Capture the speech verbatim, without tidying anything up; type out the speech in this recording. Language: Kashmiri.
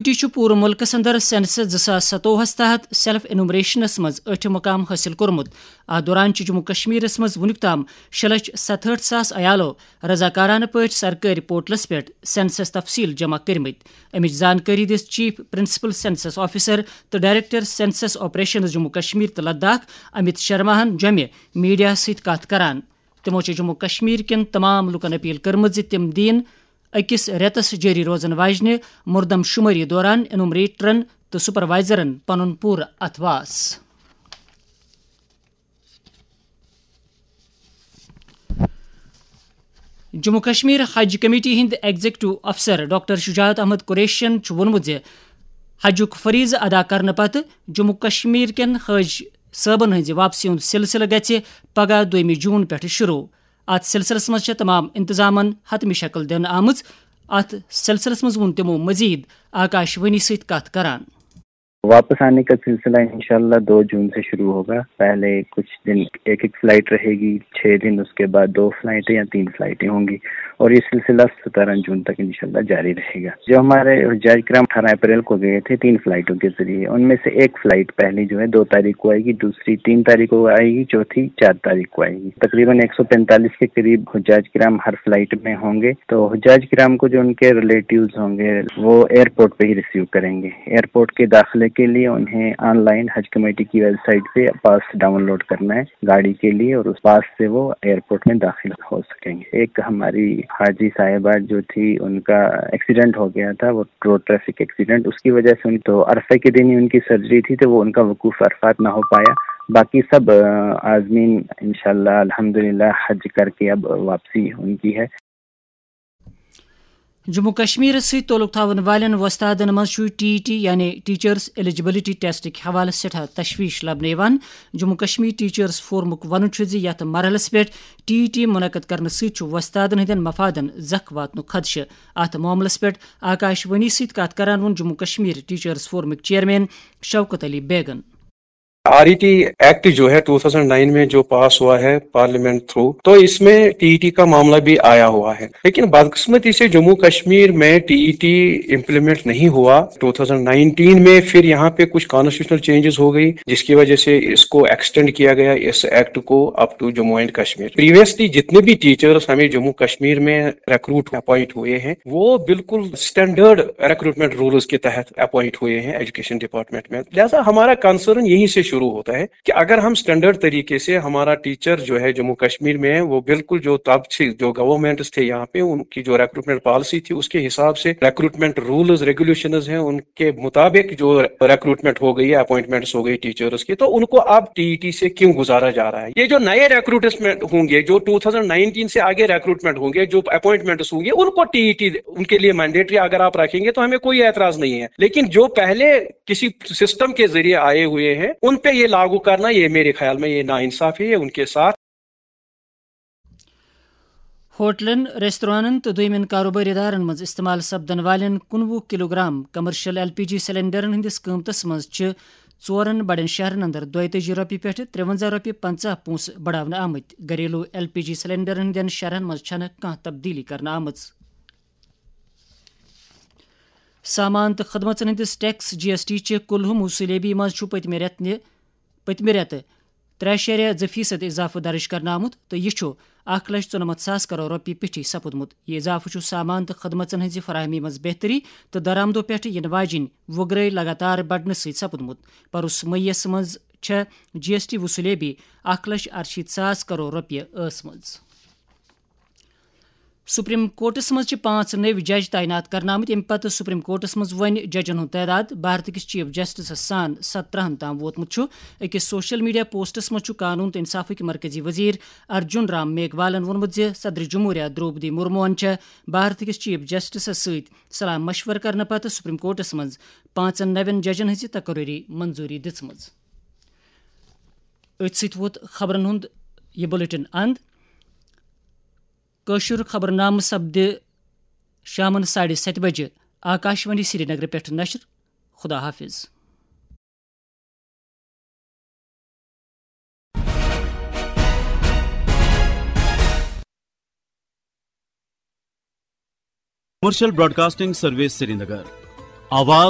ٹی چھُ پوٗرٕ مُلکَس اندر سینسس زٕ ساس ستووُہَس تحت سیلف انومریشنَس منٛز ٲٹھِم مقام حٲصِل کوٚرمُت۔ اَتھ دوران چھِ جموں کشمیرَس منٛز وُنیُک تام شےٚ لچھ ستہٲٹھ ساس عیالو رضاکارانہٕ پٲٹھۍ سرکٲرۍ پورٹلَس پٮ۪ٹھ سینسس تفصیٖل جمع کٔرمٕتۍ۔ اَمِچ زانکٲری دِژ چیف پرنسپل سینسس آفیسر تہٕ director census operations Jammu Kashmir تہٕ لداخ امت شرماہن جوٚمہِ میڈیاہَس سۭتۍ کتھ کران۔ تِمو چھِ جموں کشمیر کٮ۪ن تمام لوٗکَن اپیل کٔرمٕژ زِ تِم دِیِن أکِس رٮ۪تَس جٲری روزَن واجنہِ مردم شمٲری دوران انومریٹرن تہٕ سپروائزرن پنُن پوٗرٕ اتھواس۔ جموں کشمیر حج کمیٹی ہٕنٛدۍ ایگزیکٹو افسر ڈاکٹر شجاعت احمد قریشین چھُ ووٚنمُت زِ حجُک فریضہٕ ادا کرنہٕ پتہٕ جموں کشمیر کٮ۪ن حج صٲبن ہٕنٛزِ واپسی ہُنٛد سلسلہٕ گژھِ پگاہ دوٚیمہِ جون پٮ۪ٹھٕ شروع۔ اتھ سلسلس منٛز چھےٚ تمام انتظامن حتمی شکل دِنہٕ آمٕژ۔ اتھ سلسلس منٛز ووٚن تِمو مزید آکاش وانی سۭتۍ کتھ کران۔ واپس آنے کا سلسلہ انشاءاللہ دو جون سے شروع ہوگا۔ پہلے کچھ دن ایک ایک فلائٹ رہے گی، چھ دن، اس کے بعد دو فلائٹیں یا تین فلائٹیں ہوں گی، اور یہ سلسلہ سترہ جون تک انشاءاللہ جاری رہے گا۔ جو ہمارے حجاج کرام اٹھارہ اپریل کو گئے تھے تین فلائٹوں کے ذریعے، ان میں سے ایک فلائٹ پہلی جو ہے دو تاریخ کو آئے گی، دوسری تین تاریخ کو آئے گی، چوتھی چار تاریخ کو آئے گی۔ تقریباً ایک سو پینتالیس کے قریب حجاج کرام ہر فلائٹ میں ہوں گے۔ تو حجاج کرام کو جو ان کے ریلیٹیوز ہوں گے، وہ ایئرپورٹ پہ ہی ریسیو کریں گے۔ ایئرپورٹ کے داخلے کے لیے انہیں آن لائن حج کمیٹی کی ویب سائٹ پہ پاس ڈاؤن لوڈ کرنا ہے گاڑی کے لیے، اور اس پاس سے وہ ایئرپورٹ میں داخل ہو سکیں گے۔ ایک ہماری حاجی صاحبہ جو تھی، ان کا ایکسیڈنٹ ہو گیا تھا، وہ روڈ ٹریفک ایکسیڈنٹ، اس کی وجہ سے ان، تو عرفہ کے دن ہی ان کی سرجری تھی، تو وہ ان کا وقوف عرفات نہ ہو پایا۔ باقی سب، آ، عازمین انشاءاللہ الحمدللہ حج کر کے اب واپسی ان کی ہے۔ جموں کشمیرس سۭتۍ تعلق تھاون والٮ۪ن وۄستادن منٛز چھُ ٹی ای ٹی یعنی ٹیچرس ایلیجبلٹی ٹیسٹٕکۍ حوالہٕ سٮ۪ٹھاہ تشویش لبنہٕ یِوان۔ جموں کشمیر ٹیچرس فورمُک ونُن چھُ زِ یتھ مرحلس پٮ۪ٹھ ٹی ای ٹی منعقد کرنہٕ سۭتۍ چھُ وۄستادن ہٕنٛدٮ۪ن مفادن زکھ واتنُک خدشہٕ۔ اتھ معاملس پٮ۪ٹھ آکاش وانی سۭتۍ کتھ کران ووٚن جموں کشمیر ٹیچرس فورمٕکۍ چیئرمین شوکت علی بیگن۔ آر ای ٹی ایکٹ جو ہے ٹو تھاؤزینڈ نائن میں جو پاس ہوا ہے پارلیمنٹ تھرو، تو اس میں ٹی ای ٹی کا معاملہ بھی آیا ہوا ہے، لیکن بدقسمتی سے جموں کشمیر میں ٹی ای ٹی امپلیمنٹ نہیں ہوا۔ ٹو تھاؤزینڈ نائنٹین میں پھر یہاں پہ کچھ کانسٹیٹیوشنل چینجز ہو گئی، جس کی وجہ سے اس کو ایکسٹینڈ کیا گیا، اس ایکٹ کو، up to Jammu and Kashmir. Previously جتنے بھی ٹیچرز ہمیں جموں کشمیر میں ریکروٹ اپوائنٹ ہوئے ہیں، وہ بالکل اسٹینڈرڈ ریکروٹمنٹ رولز کے تحت اپوائنٹ ہوئے ہیں ایجوکیشن ڈپارٹمنٹ میں۔ لہذا ہمارا کنسرن یہیں سے شروع ہوتا ہے کہ اگر ہم اسٹینڈرڈ طریقے سے، ہمارا ٹیچر جو ہے جموں کشمیر میں ہے، وہ بالکل جو تب سے جو گورنمنٹس تھے یہاں پہ، ان کی جو ریکروٹمنٹ پالیسی تھی، اس کے حساب سے ریکروٹمنٹ رولز ریگولیشنز ہیں، ان کے مطابق جو ریکروٹمنٹ ہو گئی ہے، اپوائنٹمنٹس ہو گئی ٹیچرز کی، تو ان کو اب ٹی ای ٹی سے کیوں گزارا جا رہا ہے؟ یہ جو نئے ریکروٹمنٹ ہوں گے، جو ٹو تھاؤزینڈ نائنٹین سے آگے ریکروٹمنٹ ہوں گے، جو اپوائنٹمنٹس ہوں گے، ان کو ٹی ای ٹی ان کے لیے مینڈیٹری اگر آپ رکھیں گے تو ہمیں کوئی اعتراض نہیں ہے، لیکن جو پہلے کسی سسٹم کے ذریعے آئے ہوئے ہیں، ان پہ یہ لاگو کرنا، یہ میرے خیال میں یہ ناانصافی ہے ان کے ساتھ۔ ہوٹلن، ریستورانن تہٕ دوٚیمٮ۪ن کاروبٲرۍ ادارن منٛز استعمال سپدن والٮ۪ن کُنوُہ کلوگرام کمرشل ایل پی جی سلنڈرن ہٕنٛدِس قۭمتس منٛز چھِ ژورن بڑٮ۪ن شہرن اندر دۄیتٲجی رۄپیہِ پٮ۪ٹھٕ ترٛوَنزاہ رۄپیہِ پنٛژاہ پونٛسہٕ بڑاونہٕ آمٕتۍ۔ گھریلو ایل پی جی سلنڈرن ہٕنٛدٮ۪ن شہرن منٛز چھنہٕ کانٛہہ تبدیلی کرنہٕ آمٕژ۔ سامان تہٕ خدمژن ہٕنٛدِس ٹیکس، جی ایس ٹی، چہِ کُلہُم وصوٗلیٲبی منٛز چھُ پٔتمہِ رٮ۪تہٕ نہِ پٔتمہِ رٮ۪تہٕ ترٛےٚ اَشاریہ زٕ فیصد اضافہٕ درٕج کرنہٕ آمُت تہٕ یہِ چھُ اکھ لچھ ژُنَمَتھ ساس کرور رۄپیہِ پیٚٹھی سپُدمُت۔ یہِ اضافہٕ چھُ سامان تہٕ خدمژن ہٕنٛزِ فراہمی منٛز بہتری تہٕ درآمدو پٮ۪ٹھٕ یِنہٕ واجِنۍ وُگرٲے لگاتار بڑنہٕ سۭتۍ سپُدمُت۔ پروس مئی یَس منٛز چھےٚ جی ایس ٹی وصوٗلیٲبی اکھ لچھ اَرشیٖتھ ساس کرور رۄپیہِ ٲسمٕژ۔ سپریم کورٹس منٛز چھِ پانٛژھ نٔوۍ جج تعینات کرنہٕ آمٕتۍ، ییٚمہِ پتہٕ سپریم کورٹس منٛز وۄنۍ ججن ہُنٛد تعداد بھارت کِس چیف جسٹسس سان سترہن تام ووتمُت چھُ۔ أکِس سوشل میڈیا پوسٹس منٛز چھُ قانون تہٕ انصافٕکۍ مرکزی وزیر ارجن رام میگوالن ووٚنمُت زِ صدر جمہوریہ درٛوپدی مرموہن چھےٚ بھارت کِس چیف جسٹسس سۭتۍ صلاح مشورٕ کرنہٕ پتہٕ سپریم کورٹس منٛز پانٛژن نوٮ۪ن ججن ہٕنٛزِ تقرری منظوٗری دِژمٕژ۔ أتھۍ سۭتۍ ووت خبرن ہُنٛد یہِ بلیٹن اند۔ کٲشُر خبرنامہٕ سپدِ شامن ساڑِ ستہِ بجہِ آکاشوانی سرینگرٕ پٮ۪ٹھ نشر۔ خدا حافظ۔ Commercial broadcasting service Srinagar. آواز